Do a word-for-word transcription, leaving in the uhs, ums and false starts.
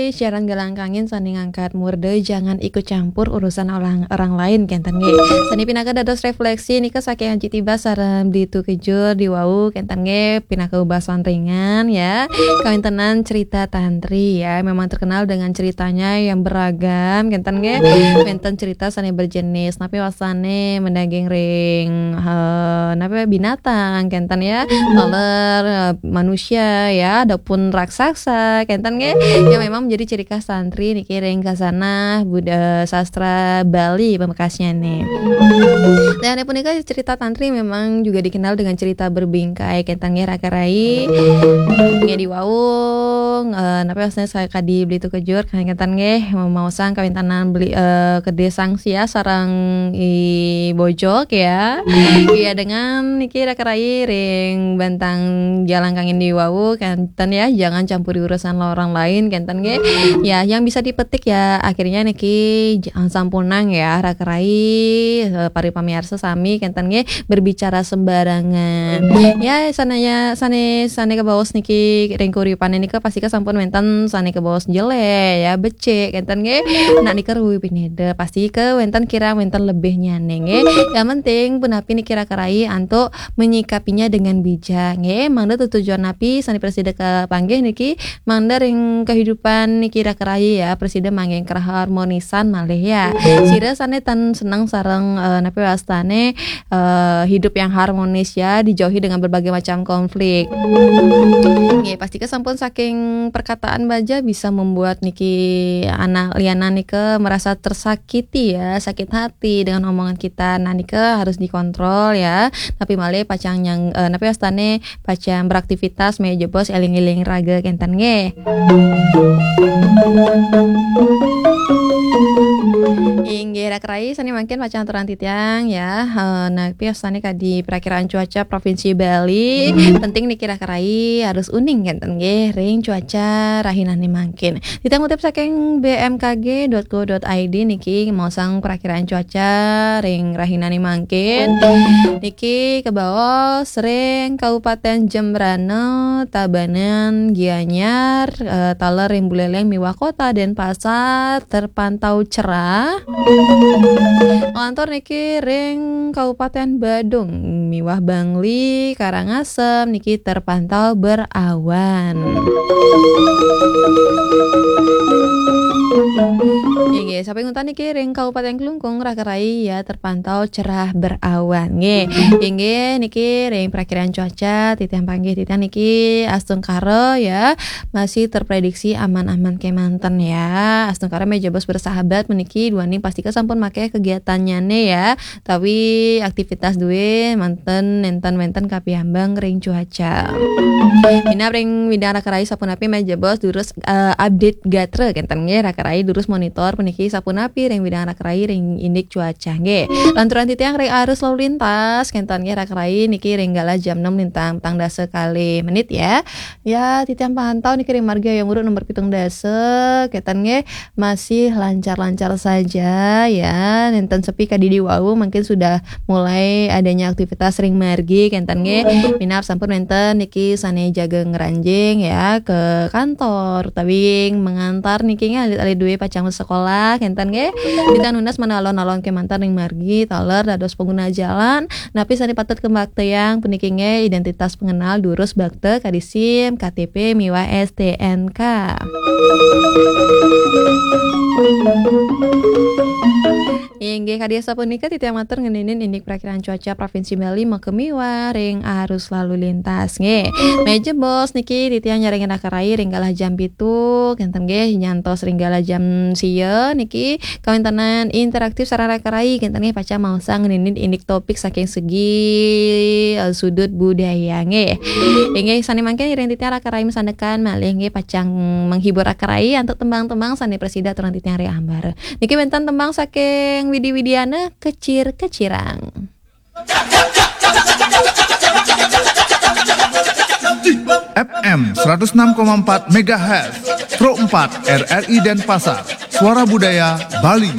Siaran Galang Kangin sané ngangkat murda, jangan ikut campur urusan orang, orang lain, kénten nggih. Sané pinaka dados réfléksi nika saking Aji Tiba sareng Ditu Kejur di wau, kénten nggih, pinaka basa ringan ya. Kawéntenan cerita tantri ya, memang terkenal dengan ceritanya yang beragam, kénten nggih. Wénten cerita sané berjenis, napi wastané madaging ring, eh, napi binatang, kénten ya. Taler, eh, manusia ya, adapun raksasa, kénten nggih. Yang memang menjadi ciri khas tantri niki ring kasanah Buddha sastra Bali pamekasnyané. Dan punika cerita tantri memang juga dikenal dengan cerita berbingkai, kénten nggih raka rai. Nggih di wau, eh, napi wastané sakadi Beli Tukejur, kénten nggih, maosang kawéntenan beli, eh, kedé sangsia sareng I Bojog ya. Iya, dengan niki raka rai ring bantang Galang Kangin di wau, kénten ya, jangan campuri urusan orang lain, kénten nggih. Ya, yang bisa dipetik ya, akhirnya niki j-, sampunang ya, raka rai, eh, para pamiarsa sami, kénten nggih, berbicara sembarangan. Ya, sané ya, sané, sané kabaos niki ring kauripané nika pastika sampun wénten sané kabaos jelék ya, becik, kénten nggih. Nah, nika ruwi pineda, pastika wénten kirang wénten lebihnyané nggih. Yang penting punapi niki raka rai antuk menyikapinya dengan bijak nggih. Mangda tetujon napi sané prasida kapanggih niki, mangda ring kehidupan niki raka rai ya, prasida manggihin keharmonisan malih ya. Sira sané tan seneng sareng, eh, napi wastané, eh, hidup yang harmonis ya, dijauhi dengan berbagai macam konflik. Nggih, pastika sampun saking perkataan baja bisa membuat niki anak lianan nika merasa tersakiti ya, sakit hati dengan omongan kita. Nah, nika harus dikontrol ya. Tapi malih pacang nyang, eh, napi wastané pacang beraktivitas, mejebos éling-éling raga, kénten nggih. Inggih, raka rai sané mangkin pacang aturang titiang ya. Eh, napi wastané kadi prakiraan cuaca Provinsi Bali. Penting niki raka rai harus uning, kénten nggih, ring cuaca rahinané mangkin. Titiang ngutip saking B M K G dot co dot I D niki, maosang prakiraan cuaca ring rahinané mangkin. Niki kabaos ring Kabupaten Jembrana, Tabanan, Gianyar, eh, taler ring Buleleng miwah Kota Denpasar terpantau cerah. Lantur niki ring Kabupaten Badung miwah Bangli, Karangasem niki terpantau berawan. Inggih, sampun nguntan niki ring Kabupaten Klungkung, raka rai ya, terpantau cerah berawan. Nggih. Inggih, niki ring prakiraan cuaca, titiang panggih titiang niki astungkara ya, masih terprediksi aman-aman kémanten ya. Astungkara mejebos bersahabat puniki duaning pastika sampun maké kegiatannyané ya. Tapi aktivitas duwé manten nénten wénten kapiambang ring cuaca. Minab ring widang raka rai sapunapi mejebos durus, eh, update gatra, kénten nggih, raka rai durus monitor puniki sapunapi ring widang raka rai ring indik cuaca nggih. Lanturang titiang ring arus lalu lintas, kénten nggih, raka rai niki ring galah jam enam lintang petang dasa kalih menit ya. Ya, titiang pantau niki ring margi Hayam Wuruk nomor pitung dasa, kénten nggih, masih lancar-lancar saja ya. Nénten sepi kadi di wau, mungkin sudah mulai adanya aktivitas ring margi, kénten nggih. Minab sampun wénten niki sané jaga ngranjing ya ke kantor, utawi mengantar niki nggih, alit-alit duwé pacang sekolah, kénten nggih. Titiang nunas manah alon-alon kémanten ring margi, taler dados pengguna jalan, napi sané patut kabaktayang puniki nggih, identitas pengenal, durus bakta, kadi SIM, K T P, miwah S T N K. Inggih, kadi asapunika titiang matur ngeninin indik prakiraan cuaca Provinsi Bali makamiwah ring arus lalu lintas nggih. Mejebos niki titiang nyarengin raka rai ring galah jam pitu, kénten nggih, nyantos ring galah jam sia niki kawéntenan interaktif sareng raka rai, kénten nggih, pacang maosang ngeninin indik topik saking segi, eh, sudut budaya nggih. Inggih, sané mangkin ngiring titiang raka rai masandekan malih nggih, pacang menghibur raka rai antuk tembang-tembang sané prasida aturang titiang ring ambara. Niki wénten tembang saking Widi Widiana, Kecir-kecirang. F M seratus enam koma empat megahertz, Pro empat R R I Denpasar, Suara Budaya Bali.